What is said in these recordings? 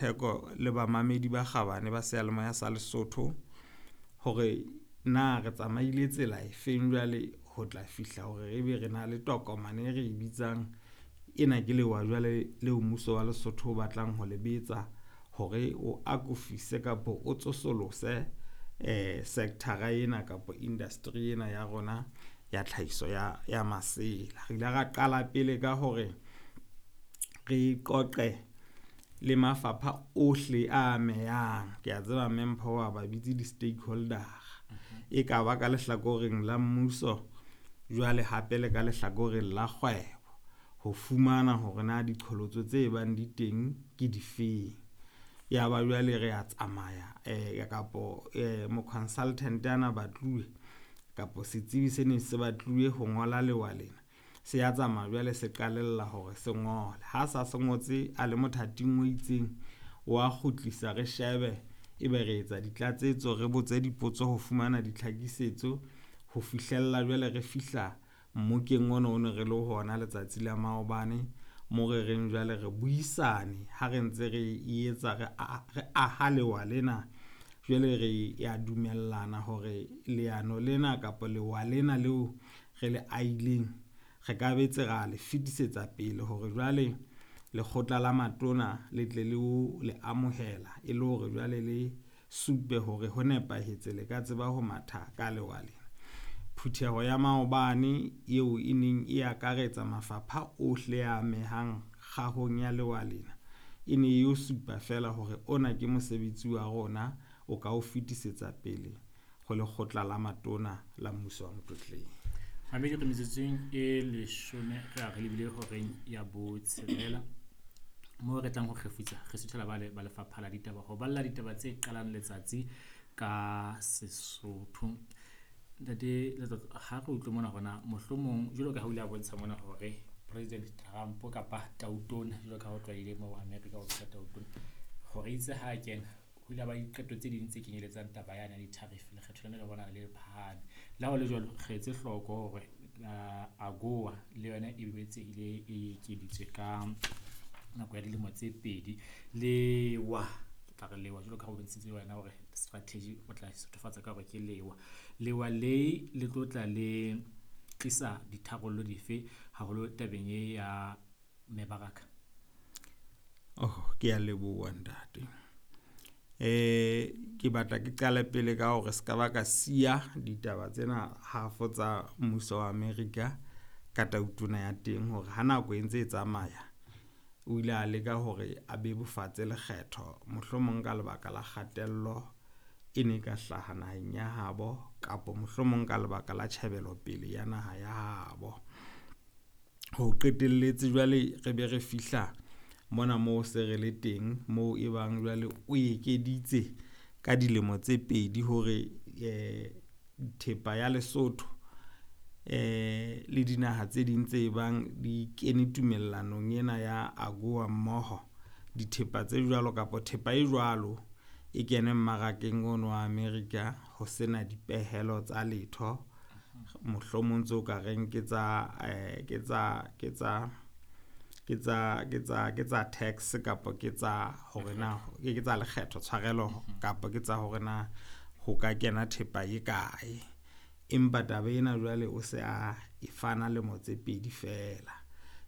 Theko le bamamedi ba kgabane ba seyalemoya sa Lesotho hore na re tsamaile tsela efeng jwale ho tla fihla hore ebe re na le tokomane e re e bitsang ena ke lewa jwale leo mmuso wa Lesotho o batlang ho lebetsa hore o akofise kapo o tsosolose sector-a ena kapa industry ena ya rona ya tlhahiso ya masela. Re ile ra qala pele ka hore re qoqe le mafapha ohle a amehang. Ke a tseba Mme Mpho wa ba bitse di-stakeholder. E ka ba ka lehlakoreng la mmuso, jwale hape le ka lehlakoreng la kgwebo ho fumana hore na diqholotso tse bang di teng ke difeng. Ya ba jwale re a tsamaya kapo mo-consultant ana batluwe kapo setsibi se ne se batluwe ho ngola lewa lena, se ya tsamaya jwale se qalella hore se ngole. Ha sa se ngotse a le mothating o itseng, wa kgutlisa re shebe ebe re etsa ditlatsetso, re botse dipotso ho fumana ditlhakisetso ho fihlella jwale re fihla mmokeng ona o ne re le ho ona letsatsi la maobane mo re reng jwale re buisane ha re ntse re etsa re aha lewa lena. Jwale re ya dumellana hore leano lena kapa lewa lena leo re le ahileng re ka betse ra le fetisetsa pele hore jwale lekgotla la matona le tle le o le amohela e le hore jwale le supe hore ho nepahetse le ka tseba ho matha ka lewa lena. Phutheho ya maobane eo e neng e akaretsa mafapha ohle a amehang kgahong ya lewa lena, e ne e yo supa fela hore ona ke mosebetsi wa rona o ka o fetisetsa pele ho lekgotla la matona la mmuso wa Motlotleng. Mamedi, re metsotsong e leshome re a re lebile horeng ya botshelela moo re tlang ho kgefutsa re suthela ba lefapha la ditaba ho balla ditaba tse qalang letsatsi ka Sesotho. Ntate Letsatsi, ha re utlwe mona hore na mohlomong jwalo ka ha o ile a bontsha mona hore President Trump kapa Tautona jwalo ka ha o tlwaile moo America o bitsa Tautona, hore itse ha kena ho ile ba diqeto tse ding tse kenyeletsang taba yane ya di-tariff, lekgetho lena le bona le phahame. Le ha ho le jwalo, re etse hloko hore AGOA le yona e boetse ile e ekeditswe ka nako ya dilemo tse pedi. Lewa, ke tla re lewa jwalo ka ha o bontshitse wena hore strategy o tla sothofatsa ka hore ke lewa. Lewa le le tlo tla le tlisa ditharollo dife haholo tabeng e ya mebaraka? Oh, ke a leboha ntate. Ke batla ke qale pele ka hore se ka ba ka siya ditaba tsena hafo tsa mmuso wa America ka tautona ya teng hore ha nako e ntse e tsamaya o ile a leka hore a bebofatse lekgetho mohlomong ka lebaka la kgatello e ne ka hlaha naheng ya habo kapo mohlomong ka lebaka la tjhebelopele ya naha ya habo. Ho qetelletse jwale re be re fihla mona moo se re le teng moo e bang jwale o ekeditse ka dilemo tse pedi hore thepa ya Lesotho le dinaha tse ding tse bang di kene tumellanong ena ya AGOA mmoho, dithepa tse jwalo kapa thepa e jwalo e kene mmarakeng ono wa America ho sena dipehelo tsa letho mohlomong tseo ka reng ke tsa ke tsa ke tsa ke tsa ke tsa ke tsa tax kapa ke tsa hore na ke tsa lekgetho tshwarelo kapa ke tsa hore na ho ka kena thepa e kae. Empa taba ena jwale o se a e fana lemo tse pedi fela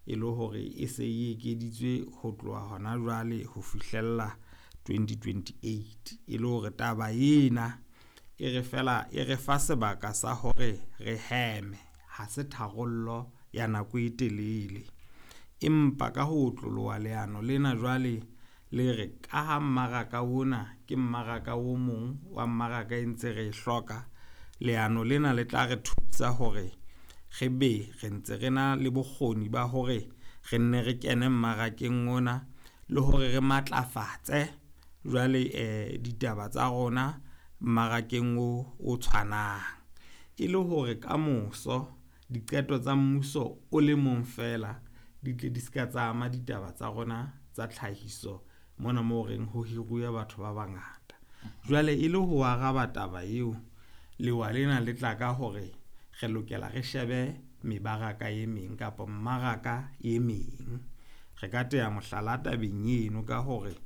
e le hore e se e ekeditswe ho tloha hona jwale ho fihlella 2028 e le hore taba ena e re fela e re fa sebaka sa hore re heme, ha se tharollo ya nako e telele. Empa ka ho otloloha leano lena jwale le re ka ha mmaraka ona ke mmaraka o mong wa mmaraka e ntse re e hloka, leano lena le tla re thusa hore re be re ntse re na le bokgoni ba hore re nne re kene mmarakeng ona le hore re matlafatse jwale ditaba tsa rona mmarakeng o tshwanang, e le hore kamoso diqeto tsa mmuso o le mong fela di tle di ska tsa ama ditaba tsa rona tsa tlhahiso mona moo reng ho hiruwe batho ba bangata. Jwale e le ho araba taba eo, lewa lena le tla ka hore re lokela re shebe mebaraka e meng kapa mmaraka e meng. Re ka teya mohlala tabeng eno ka hore